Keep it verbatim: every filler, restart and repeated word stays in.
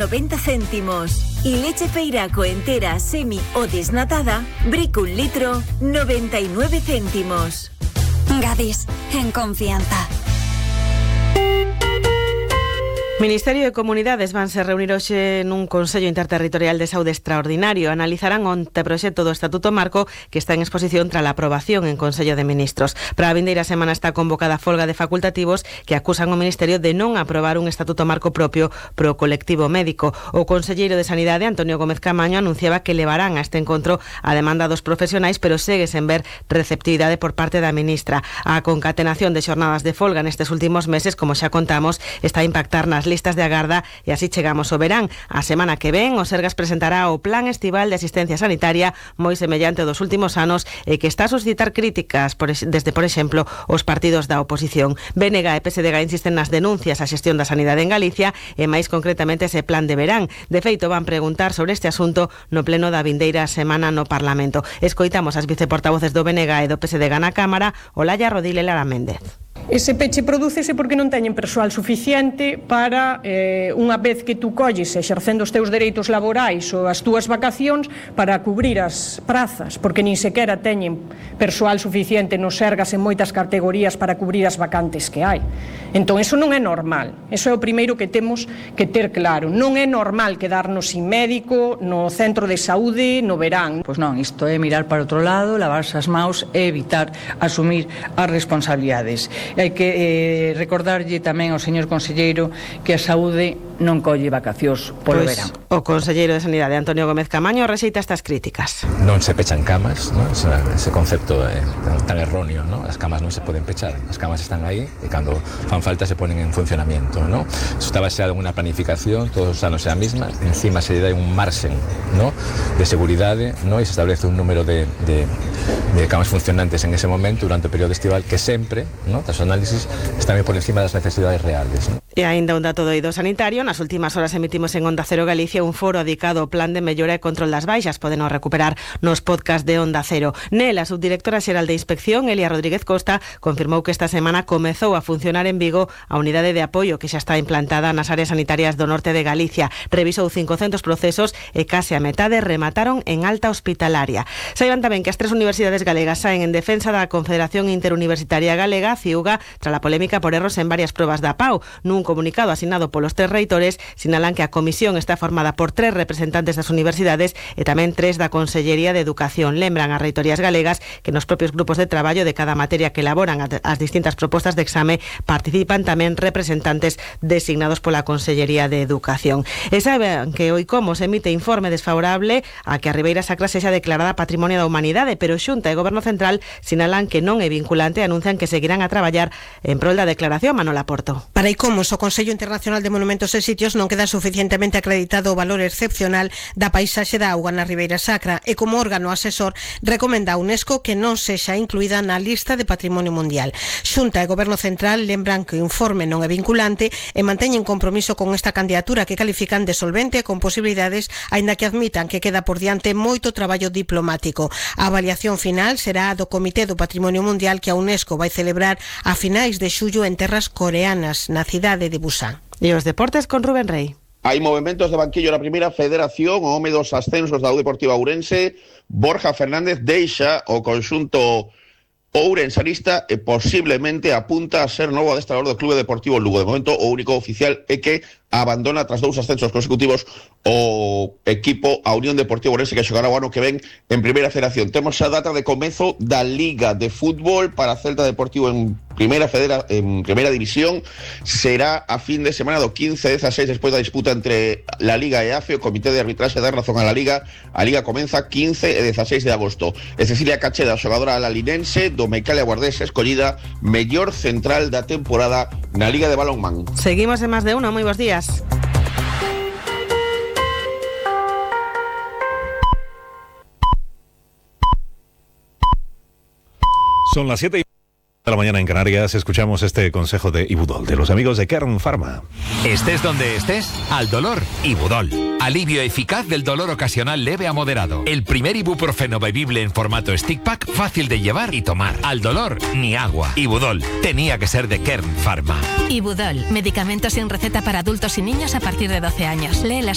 noventa céntimos. Y leche Feiraco entera, semi o desnatada, brico un litro, noventa y nueve céntimos. Gadis, en confianza. Ministerio de Comunidades vanse reunir hoxe nun Consello Interterritorial de Saúde extraordinario. Analizarán o anteproxecto do Estatuto Marco que está en exposición tras a aprobación en Consello de Ministros. Para a vindeira semana está convocada a folga de facultativos que acusan o Ministerio de non aprobar un Estatuto Marco propio pro colectivo médico. O conselleiro de Sanidade, Antonio Gómez Camaño, anunciaba que levarán a este encontro a demanda dos profesionais, pero segue sen ver receptividade por parte da ministra. A concatenación de xornadas de folga nestes últimos meses, como xa contamos, está a impactar nas listas de agarda e así chegamos ao verán. A semana que ven, o Sergas presentará o Plan Estival de Asistencia Sanitaria moi semellante ao dos últimos anos e que está a suscitar críticas por, desde, por exemplo, os partidos da oposición. B N G e P S D G insisten nas denuncias á xestión da sanidade en Galicia e máis concretamente ese plan de verán. De feito, van preguntar sobre este asunto no pleno da vindeira semana no Parlamento. Escoitamos as viceportavoces do B N G e do P S D G na Cámara, Olalla Rodil e Lara Méndez. Ese peche prodúcese porque non teñen persoal suficiente para, eh, unha vez que tú colles exercendo os teus dereitos laborais ou as túas vacacións, para cubrir as prazas, porque nin sequera teñen persoal suficiente nos Sergas en moitas categorías para cubrir as vacantes que hai. Entón, eso non é normal. Eso é o primeiro que temos que ter claro. Non é normal quedarnos sin médico no centro de saúde no verán. Pois non, isto é mirar para outro lado, lavarse as maus e evitar asumir as responsabilidades. Hai que eh, recordarlle tamén ao señor conselleiro que a saúde non colle vacacións polo pois, verán. O conselleiro de Sanidade, Antonio Gómez Camaño, rexeita estas críticas. Non se pechan camas, ¿no? Ese, ese concepto é tan, tan erróneo, ¿no? As camas non se poden pechar, as camas están aí e cando fan falta se ponen en funcionamiento, ¿no? Eso está baseado en unha planificación, todos os anos é a misma, encima se dá un marxen, ¿no? De seguridade, ¿no? E se establece un número de, de, de camas funcionantes en ese momento durante o período estival que sempre, ¿no? Das análisis están por encima das necesidades reales, ¿no? E aínda un dato do eido sanitario, nas últimas horas emitimos en Onda Cero Galicia un foro dedicado ao plan de mellora e control das baixas. Podeno recuperar nos podcast de Onda Cero. Nela, a subdirectora xeral de Inspección, Elia Rodríguez Costa, confirmou que esta semana comezou a funcionar en Vigo a unidade de apoio que xa está implantada nas áreas sanitarias do norte de Galicia. Revisou cincocentos procesos e case a metade remataron en alta hospitalaria. Saiban tamén que as tres universidades galegas saen en defensa da Confederación Interuniversitaria Galega, CIUGA, tras a polémica por erros en varias probas da P A U. Nun comunicado asignado polos tres reitores, sinalan que a comisión está formada por tres representantes das universidades e tamén tres da Consellería de Educación. Lembran as reitorías galegas que nos propios grupos de traballo de cada materia que elaboran as distintas propostas de exame participan tamén representantes designados pola Consellería de Educación. E saben que o ICOMOS emite informe desfavorable a que a Ribeira Sacra sexa declarada Patrimonio da Humanidade, pero Xunta e Goberno Central sinalan que non é vinculante e anuncian que seguirán a traballar en prol da declaración. Manola Porto. Para ICOMOS, o Consello Internacional de Monumentos e Sitios non queda suficientemente acreditado o valor excepcional da paisaxe da auga na Ribeira Sacra e como órgano asesor recomenda a UNESCO que non sexa incluída na lista de Patrimonio Mundial. Xunta e Goberno Central lembran que o informe non é vinculante e manteñen compromiso con esta candidatura que califican de solvente con posibilidades, aínda que admitan que queda por diante moito traballo diplomático. A avaliación final será a do Comité do Patrimonio Mundial que a UNESCO vai celebrar a finais de xullo en terras coreanas, na cidade de Busan. E os deportes con Rubén Rey. Hai movimentos de banquillo na primeira federación, o home dos ascensos da U Deportiva Ourense, Borja Fernández deixa o conxunto ourensanista e posiblemente apunta a ser novo adestrador do Clube Deportivo Lugo. De momento, o único oficial é que abandona tras dous ascensos consecutivos o equipo a Unión Deportiva Ourense que xogará o ano que ven en primeira federación. Temos a data de comezo da Liga de Fútbol para Celta Deportivo en primeira federa, en primeira división. Será a fin de semana do quince dezasseis despois da disputa entre la Liga e A F E. O Comité de Arbitraxe dá razón a la Liga. A Liga comeza quince e dezasseis de agosto. E Cecilia Cacheda, xogadora alalinense do Meicalia Guardés, escollida mellor central da temporada na Liga de Balonmán. Seguimos en Más de Uno. Moi bons días. Son las siete y De la mañana en Canarias escuchamos este consejo de Ibudol, de los amigos de Kern Pharma. Estés donde estés, al dolor, Ibudol. Alivio eficaz del dolor ocasional leve a moderado. El primer ibuprofeno bebible en formato stick pack, fácil de llevar y tomar. Al dolor, ni agua. Ibudol, tenía que ser de Kern Pharma. Ibudol, medicamento sin receta para adultos y niños a partir de doce años. Lee las